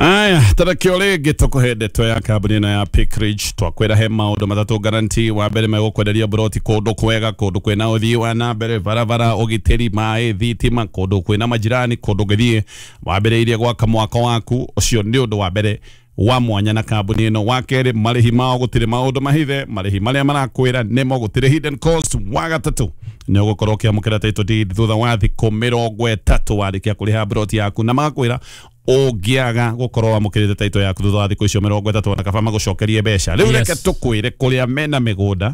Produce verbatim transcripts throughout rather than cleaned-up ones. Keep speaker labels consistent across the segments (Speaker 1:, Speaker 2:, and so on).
Speaker 1: Aya, tarakio rĩngĩ tũkũhe ndeto ya kambuni ĩno ya Pickridge. Twakwĩra he maũndũ matatũ guarantee. Wa mbere, megũkwenderia broti kũndũ kwega, kũndũ kwĩna ũthii wa na mbere, barabara, ũgitĩri, maĩ, thitima, kũndũ kwĩna majirani, kũndũ ũngĩthiĩ wambĩrĩirie gwaka mwako waku. Ũcio nĩ ũndũ wa mbere wa mwanya na kambuni ĩno. Wa kerĩ, marĩhi mao gũtirĩ maũndũ mahithe, marĩhi marĩa marakwĩra nĩmo, gũtirĩ hidden cost. Wa gatatũ, nĩ ũgũkorwo ũkĩamũkĩra title deed thutha wa thikũ mĩrongo ĩtatũ warĩkia kũrĩha broti yaku, na magakwĩra ũngĩaga gũkorwo wamũkĩrĩte title yaku thutha wa thikũ icio mĩrongo ĩtatũ, ona kaba magũcokerie mbeca. Rĩu
Speaker 2: Yes.
Speaker 1: reke tũkwĩre kũrĩa mena mĩgũnda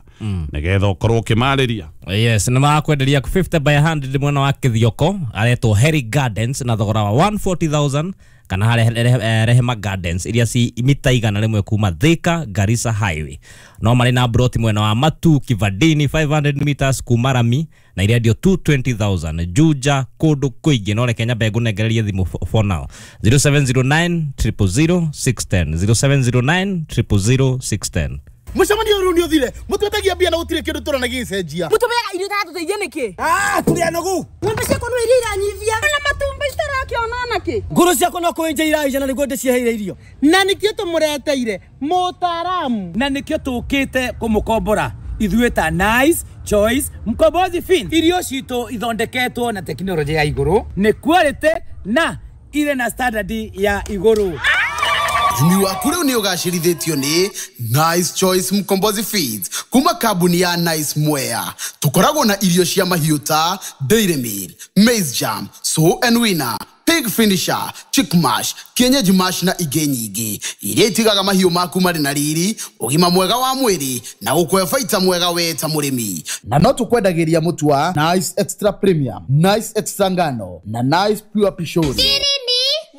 Speaker 1: nĩgetha ũkorwo ũkĩmarĩria.
Speaker 2: Yes, nĩ marakwenderia fifty by one hundred mwena wa Kithioko, aretwo Harry Gardens, na thogora wa one hundred forty thousand, kana harĩa Re- Rehema Gardens iria ci mita igana rĩmwe kuma Thika Garissa Highway. No marĩ na broti mwena wa Matu Kivandini, five hundred meters kuma rami, na irendio two hundred twenty thousand. Juja, kũndũ kũingĩ. No reke nyambe ngũnengererie thimũ for now: zero seven zero nine zero zero zero six one zero, zero seven zero nine zero zero zero six one zero.
Speaker 3: Mũcemanio ũyũ nĩ ũthire, mũtwetagia mbia na gũtirĩ kĩndũ tũrona gĩgĩcenjia.
Speaker 4: Mũtũmeaga irio itatũteithia nĩkĩ?
Speaker 5: Ah, tũrĩ anogu.
Speaker 4: Ng'ombe ciakwa no iria iranyivia na matumbĩ citarakĩona nakĩ.
Speaker 5: Ngũrũ ciakwa no kũenja iraija na nĩguo ndĩciheire irio.
Speaker 6: Na nikio tũmũreteire mũtaaramu.
Speaker 5: Na nĩkĩo tũkĩte kũmũkombora ithuĩ ta Nice Choice Mkombozi Feeds. Irio citũ ithondeketwo na tekinoronjĩ ya igũrũ, nĩ quality na irĩ na standard ya igũrũ.
Speaker 3: Ũrĩmi waku rĩu nĩ ũgacĩrithĩtio nĩ Nice Choice Mkombozi Feeds kuma kambuni ya Nice Mwea. Tũkoragwo na irio cia mahiũ ta Dairy Meal, Maize Jam, Sow and Winner, Pig Finisher, Chick Mash, Kienyeji Mash na ingĩ nyingĩ iria itigaga mahiũ maku marĩ na riri, ũgima mwega wa mwĩrĩ na gũkũhe baita mwega we ta mũrĩmi. Na no tũkwendagĩria mũtu wa Nice Extra Premium, Nice Extra Ngano na Nice Pure Pishori.